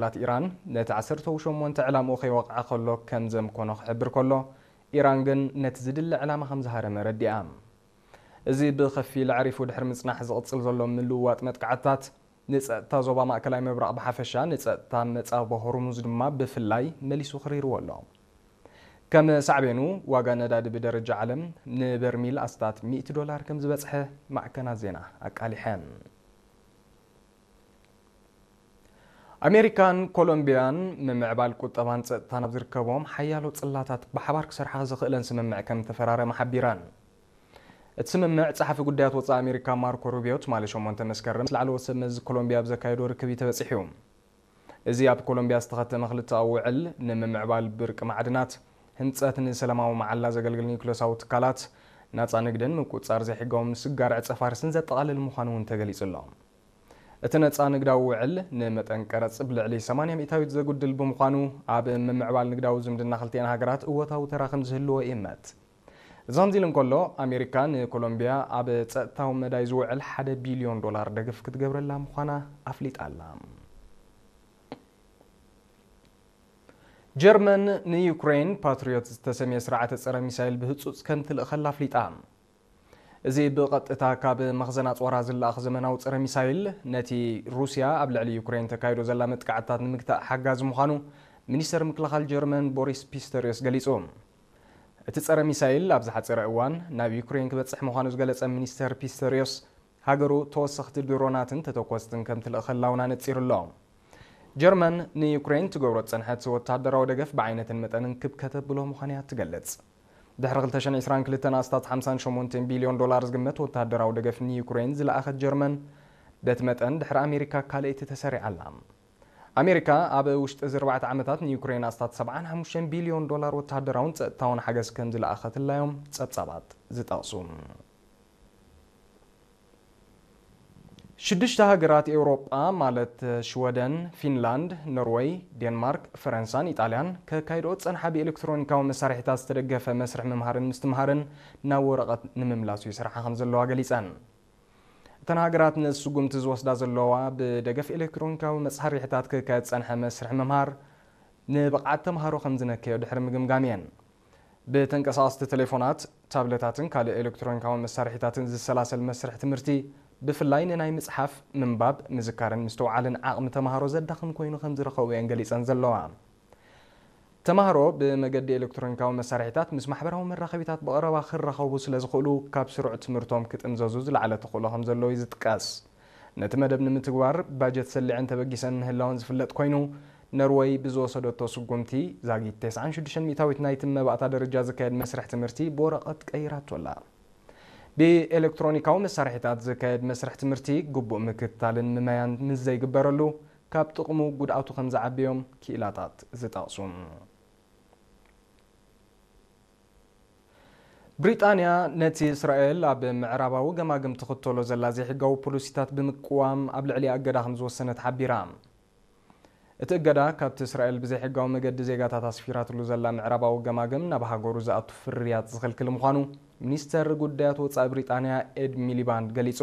ላት ኢራን ነቲ ዓሰርተ ሸሞንተ ዕላምኡ ከይወቕዐ ከሎ ከም ዘምኮኖ ክሕብር ከሎ፣ ኢራን ግን ነቲ ዝድለ ዕላማ ከም ዝሃረመ ረዲኣ። እዚ ብኸፊል ኣዕሪፉ ድሕሪ ምጽናሕ ዝቕጽል ዘሎ ምልውዋጥ መጥቃዕትታት፣ ንጸጥታ ዞባ ማእከላይ ምብራቕ ብሓፈሻ፣ ንጸጥታ መጻብቦ ሆርሙዝ ድማ ብፍላይ መሊሱ ክሪርዎ ኣሎ። ከም ሳዕቤኑ፣ ዋጋ ነዳዲ ብደረጃ ዓለም ንበርሚል ኣስታት ሚእቲ ዶላር ከም ዝበጽሐ ማዕከናት ዜና ኣቃሊሐን። ኣሜሪካን ኮሎምቢያን ምምዕባል ቁጠባን ጸጥታን ኣብ ዝርከቦም ሓያሎ ጽላታት ብሓባር ክሰርሓ ዘኽእለን ስምምዕ ከም ተፈራረማ ሓቢረን። እቲ ስምምዕ፣ ጸሓፊ ጉዳያት ወጻኢ ኣሜሪካ ማርኮ ሩቢዮ ትማሊ ሸሞንተ መስከረም ምስ ላዕለዎት ሰብ መዚ ኮሎምቢያ ኣብ ዘካየዶ ርክብ እዩ ተበጺሑ። እዚ ኣብ ኮሎምቢያ ዝተኸተመ ክልተኣዊ ውዕል፣ ንምምዕባል ብርቂ ማዕድናት፣ ህንጸት ንሰላማዊ መዓላ ዘገልግል ኒውክለሳዊ ትካላት፣ ናጻ ንግድን ምቁጽጻር ዘይሕጋዊ ምስግጋር ዕጸ ፋርስን ዘጠቓልል ምዃኑ እውን ተገሊጹ ኣሎ። እቲ ነጻ ንግዳዊ ውዕል፣ ንመጠን ቀረጽ ብልዕሊ ሰማንያ ሚእታዊት ዘጉድል ብምዃኑ፣ ኣብ ምምዕባል ንግዳዊ ዝምድና ክልቲኤን ሃገራት እወታዊ ተራ ከም ዝህልዎ ይእመት። እዚ ከምዚ ኢሉ እንከሎ፣ ኣሜሪካ ንኮሎምቢያ ኣብ ጸጥታዊ መዳይ ዝውዕል ሓደ ቢልዮን ዶላር ደገፍ ክትገብረላ ምዃና ኣፍሊጣ ኣላ። ጀርመን ንዩክሬን ፓትሪዮት ዝተሰምየ ስርዓተ ጸረ ሚሳይል ብህጹጽ ከም ትልእኸላ ኣፍሊጣ። እዚ ብቐጥታ ካብ መኽዘን ኣጽዋራ ዝለኣኽ ዘመናዊ ጸረ ሚሳይል፣ ነቲ ሩስያ ኣብ ልዕሊ ዩክሬን ተካይዶ ዘላ መጥቃዕትታት ንምግታእ ሓጋዚ ምዃኑ ሚኒስተር ምክልኻል ጀርመን ቦሪስ ፒስተሪዮስ ገሊጹ። እቲ ጸረ ሚሳይል ኣብ ዝሓጸረ እዋን ናብ ዩክሬን ክበጽሕ ምዃኑ ዝገለጸ ሚኒስተር ፒስተሪዮስ፣ ሃገሩ ተወሰኽቲ ድሮናትን ተተኮስትን ከም ትልእኸላ እውን ኣነጺሩ ኣሎ። ጀርመን ንዩክሬን ትገብሮ ዝጸንሐት ወተሃደራዊ ደገፍ ብዓይነትን መጠንን ክብ ከተብሎ ምዃኑ እያ ትገልጽ። ድሕሪ ክልተ ሽሕን ዕስራን ክልተን ኣስታት ሓምሳን ሸሞንተን ቢልዮን ዶላር ዝግመት ወተሃደራዊ ደገፍ ንዩክሬን ዝለኣኸት ጀርመን፣ በቲ መጠን ድሕሪ ኣሜሪካ ካልኣይቲ ተሰሪዓ ኣላ። ኣሜሪካ ኣብ ውሽጢ እዚ ኣርባዕተ ዓመታት ንዩክሬን ኣስታት ሰብዓን ሓሙሽተን ቢልዮን ዶላር ወተሃደራውን ጸጥታውን ሓገዝ ከም ዝለኣኸትላ እዮም ጸብጻባት ዝጠቕሱ። ሽዱሽተ ሃገራት ኤውሮጳ፣ ማለት ሽወደን፣ ፊንላንድ፣ ኖርወይ፣ ዴንማርክ፣ ፈረንሳን ኢጣልያን፣ ከካይድኦ ዝጸንሓ ብኤሌክትሮኒካዊ መሳርሒታት ዝተደገፈ መስርሕ ምምሃርን ምስትምሃርን ናብ ወረቐት ንምምላሱ ይሰርሓ ከም ዘለዋ ገሊጸን። እተን ሃገራት ነዚ ስጉምቲ ዝወስዳ ዘለዋ፣ ብደገፍ ኤሌክትሮኒካዊ መሳርሒታት ክካየድ ዝጸንሐ መስርሕ ምምሃር ንብቕዓት ተምሃሮ ከም ዝነከዮ ድሕሪ ምግምጋም እየን። ብተንቀሳቐስቲ ቴሌፎናት፣ ታብለታትን ካልእ ኤሌክትሮኒካዊ መሳርሒታትን ዝሰላሰል መስርሕ ትምህርቲ፣ ብፍላይ ንናይ ምጽሓፍ፣ ምንባብ፣ ምዝካርን ምስትውዓልን ዓቕሚ ተምሃሮ ዘዳኽም ኮይኑ ከም ዝረኸብኦ እየን ገሊጸን ዘለዋ። ተምሃሮ ብመገዲ ኤሌክትሮኒካዊ መሳርሒታት ምስ ማሕበራዊ መራኸቢታት ብቐረባ ክራኸቡ ስለ ዝኽእሉ፣ ካብ ስሩዕ ትምህርቶም ክጥምዘዙ ዝለዓለ ተኽእሎ ከም ዘለዎ እዩ ዝጥቀስ። ነቲ መደብ ንምትግባር ባጀት ሰሊዐን ተበጊሰን ምህላወን ዝፍለጥ ኮይኑ፣ ኖርወይ ብዝወሰደቶ ስጉምቲ፣ ዛጊት ተስዓን ሽዱሽተን ሚእታዊት ናይቲ መባእታ ደረጃ ዝካየድ መስርሕ ትምህርቲ ብወረቐት ቀይራቶ ኣላ። ብኤሌክትሮኒካዊ መሳርሒታት ዝካየድ መስርሕ ትምህርቲ፣ ግቡእ ምክትታልን ምመያን ምስ ዘይግበረሉ፣ ካብ ጥቕሙ ጉድኣቱ ከም ዝዓቢ እዮም ክኢላታት ዝጠቕሱ። ብሪጣንያ ነቲ እስራኤል ኣብ ምዕራባዊ ገማግም ትኽተሎ ዘላ ዘይሕጋዊ ፖሊሲታት ብምቅዋም ኣብ ልዕሊኣ እገዳ ከም ዝወሰነት ሓቢራ። እቲ እገዳ ካብቲ እስራኤል ብዘይሕጋዊ መገዲ ዜጋታት ኣስፊራትሉ ዘላ ምዕራባዊ ገማግም ናብ ሃገሩ ዝኣቱ ፍርያት ዝኽልክል ምዃኑ ሚኒስተር ጉዳያት ወጻኢ ብሪጣንያ ኤድ ሚሊባንድ ገሊጹ።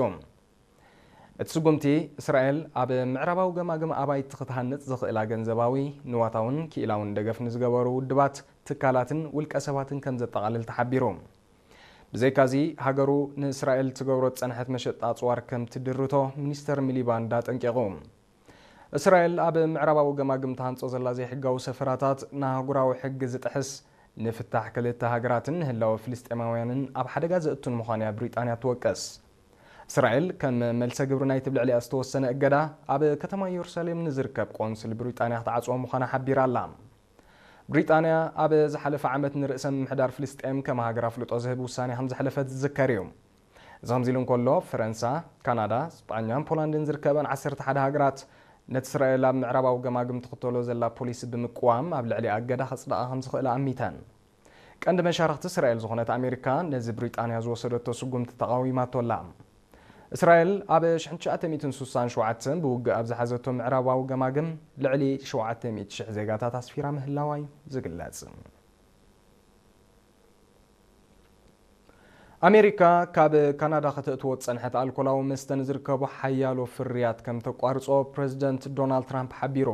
እቲ ስጉምቲ፣ እስራኤል ኣብ ምዕራባዊ ገማግም ኣባይቲ ክትሃንጽ ዘኽእላ ገንዘባዊ፣ ንዋታውን ክኢላውን ደገፍ ንዝገበሩ ውድባት፣ ትካላትን ውልቀ ሰባትን ከም ዘጠቓልል ተሓቢሩ። ብዘይካዚ፣ ሃገሩ ንእስራኤል ትገብሮ ዝጸንሐት መሸጣ ኣጽዋር ከም ትድርቶ ሚኒስተር ሚሊባንድ ኣጠንቂቑ። እስራኤል ኣብ ምዕራባዊ ገማግም ትሃንጾ ዘላ ዘይሕጋዊ ሰፈራታት ንኣህጉራዊ ሕጊ ዝጥሕስ፣ ንፍታሕ ክልተ ሃገራትን ንህላወ ፍልስጤማውያንን ኣብ ሓደጋ ዘእቱን ምዃኑ እያ ብሪጣንያ ትወቅስ። እስራኤል ከም መልሰ ግብሪ ናይቲ ብልዕሊኣ ዝተወሰነ እገዳ ኣብ ከተማ ኢየሩሳሌም ንዝርከብ ቆንስል ብሪጣንያ ክትዓጽዎ ምዃና ሓቢራ ኣላ። ብሪጣንያ ኣብ ዝሓለፈ ዓመት ንርእሰ ምምሕዳር ፍልስጤም ከም ሃገር ኣፍልጦ ዝህብ ውሳኔ ከም ዘሕለፈት ዝዝከር እዩ። እዚ ከምዚ ኢሉ እንከሎ፣ ፈረንሳ፣ ካናዳ፣ ስጳኛን ፖላንድን ዝርከበን ዓሰርተ ሓደ ሃገራት ነቲ እስራኤል ኣብ ምዕራባዊ ገማግም ትኽተሎ ዘላ ፖሊሲ ብምቅዋም ኣብ ልዕሊኣ እገዳ ከጽድቓ ከም ዝኽእላ ኣሚተን። ቀንዲ መሻርኽቲ እስራኤል ዝኾነት ኣሜሪካ ነዚ ብሪጣንያ ዝወሰደቶ ስጉምቲ ተቓዊማቶ ኣላ። እስራኤል ኣብ ሽሕን ትሽዓተ ሚእትን ስሳን ሸውዓተን ብውግእ ኣብ ዝሓዘቶ ምዕራባዊ ገማግም ልዕሊ ሸውዓተ ሚእቲ ሽሕ ዜጋታት ኣስፊራ ምህላዋ እዩ ዝግለጽ። ኣሜሪካ ካብ ካናዳ ከተእትዎ ዝጸንሐት ኣልኮላዊ መስተ ንዝርከቡ ሓያሎ ፍርያት ከም ተቋርጾ ፕረዚደንት ዶናልድ ትራምፕ ሓቢሩ።